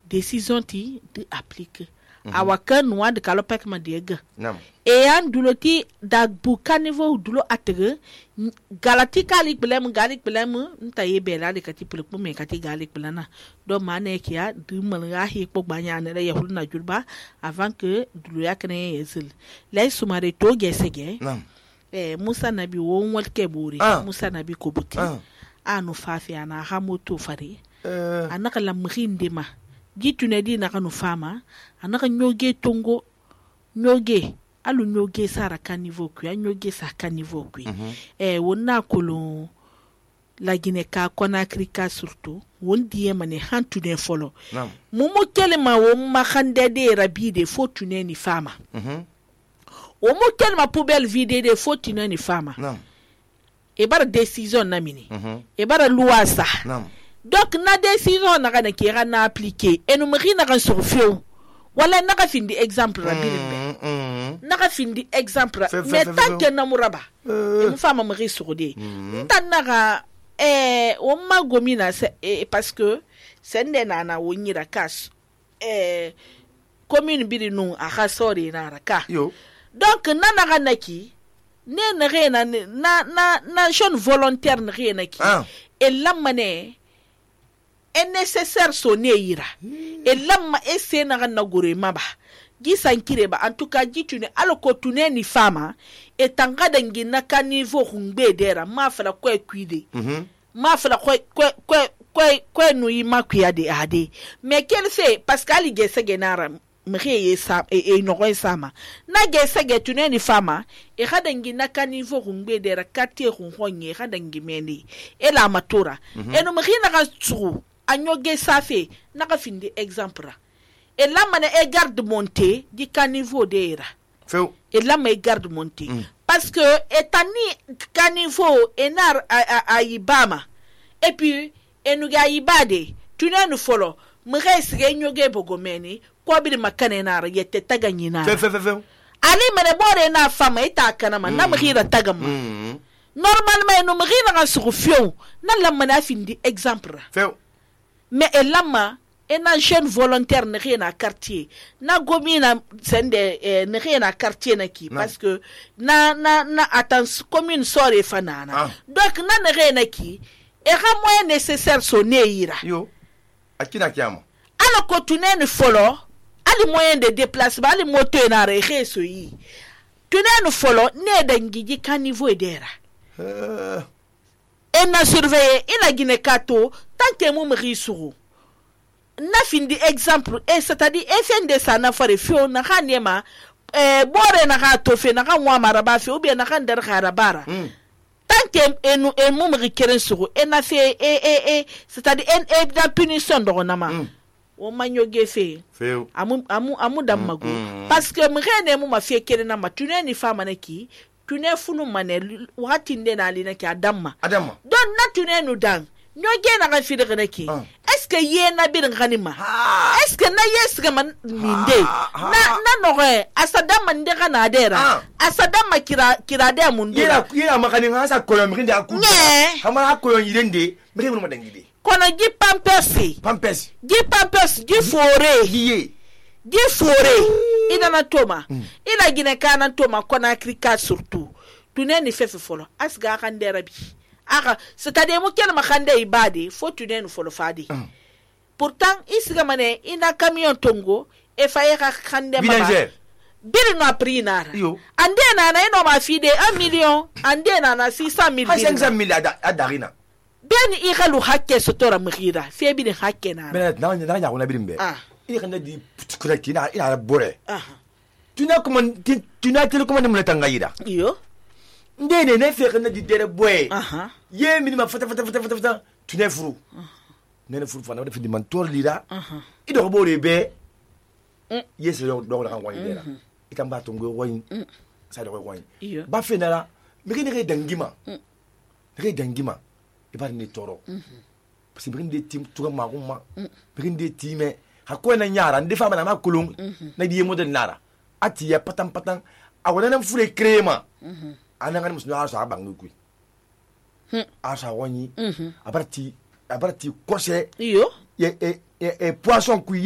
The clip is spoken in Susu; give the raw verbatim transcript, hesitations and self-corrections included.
décision ti de appliquer awaka nuwa de kalopek ma dega nam e yan duloti da buka niveau dulo atege galati kali belem gali belem nta ye bela de kati pulpu me kati gali belana do mane kiya du malga hi ko banya ne ya hulna julba avant que dulo yakne yesil lay sumare to gesege nam eh Musa nabi won walke buri ah. Musa nabi ko buti ah. anu fafi ana ha moto fare uh. anaka lamkhinde ma gitune di naka nu fama anaka nyoge tongo nyoge alu nyoge sara ka niveau ku ya nyoge sa ka niveau ku mm-hmm. eh wonna kolo la Guinée ka Conakry ka surtout won diye mane hantu ne folo nam mumu kelema wo makhande de rabide fo tune ni fama mhm o mu kelema poubelle vide de fo tune ni fama nam e bara décision na mini mhm e bara loi sa nam donc na décision na kana kira na appliquer et nous mari na kan surfio wala na ka findi exemple rabine mm na ka findi exemple Fe- fe- mais fe- tant fe- que na muraba Euh. e mu fama mari surde Mhm. tan na ka eh o ma gomina c'est eh, parce que c'est ndena na wonyira kas eh commune biri nu a ka sori na raka yo donc na na ka naki ne na rena na na na jeune volontaire na rena ki ah et lamane est nécessaire sonne ira et lamma esse na na gore maba gisan kireba en tout cas gitune aloko tune ni fama et tanga dangi na ka niveau hungbe dera ma fala ko kwide mhm ma fala ko ko ko ko ko no yi makuya de ade mais qu'elle fait parce qu'ali gese genara mriye sa e, e no sama na gese getune ni fama e hadangi na ka niveau hungbe dera katie hunhonye hadangi meni e la matura mm-hmm. e no mrina ka tsuru anyoge safe na ka findi exemple et là mané e garde monter di ka niveau dera feu et là mais garde monter mm. parce que etani ka niveau enar ayibama et puis enuga yibade tunenu folo mres genyoge bogomeni ko bi makane nar yete taganyina feu feu feu ali mané bore na fama ita kana man na mkhira tagama mhm normalement no mkhira ga surfio na la mana findi exemple feu mais elama ena jeune volontaire ne rien à quartier na gomina sende eh, ne rien à quartier na ki parce que na na na attends commune sore fanana ah. donc na ne rien à ki e ra moyen nécessaire sonne ira yo akina kiamo ala ko tunene folo ali moyen de déplacement ali moto na re so yi tunene folo ne dangiji kan niveau dera euh et na surveiller ina Guinée kato tant que mo mri suru na findi exemple et c'est-à-dire F N D ça na fare fio na kanema eh bore na ka tofe na kan wa maraba fi ou bien na kan der kharabara mm. tant que enu e mo mri keren suru et na fait et et c'est-à-dire en e da punition do na ma mm. o manyo gefe feu amu amu amu damago mm. parce que mrene mo ma fi keren na ma tuneni fama na ki tune funu mane wati ndena alina ki adamma adamma don na tune nu dan nyoge na kan fide kana ki ah. est ce que ye na bi ganima ah. est ce que na yes ga man minde ah. na na no re asadama nde kana dera ah. asadama kira kira de mundu yera yera makani ngasa koyo mrinde akuda Nye. kama akoyo yirende mrinde mo madangide kona gi pampers pampers gi pampers gi fore giye gi fore ida na toma mm. ila gine kana toma kona Afrika surtout tune ni fefe folo asga kan dera bi aka c'est-à-dire mo kel makande ibade fo tune ni folo fadi mm. pourtant isiga mane ina camion tongo e faye ka kande baba biri no aprinara ande na na ino ma fide un million ande na na six cent mille cinq cent mille adarina ben i khalu hakke sotora mkhira fe bi hakke na ben na na ya wona birimbe ah il kana di kurati na ina bore ah tuna kuma tuna tele kuma mun tangayida iyo ndene ne fe kana di dere boy aha ye minima fata fata fata fata fata tuna furu nene furu fana da fi di man tor lira aha ido bore be yes do do la kan wani dera ikamba tongo wani sa do wani ba fe nara mi ne dangima ne dangima ibar ni toro parce que binde tim tuga maguma binde time hakko na nyara ndi fama na makulung na di yemo de nara ati ya patam patam awona na fure crema ananga musu na sa bangu kui asa wani abarti abarti kose iyo e e e poisson kui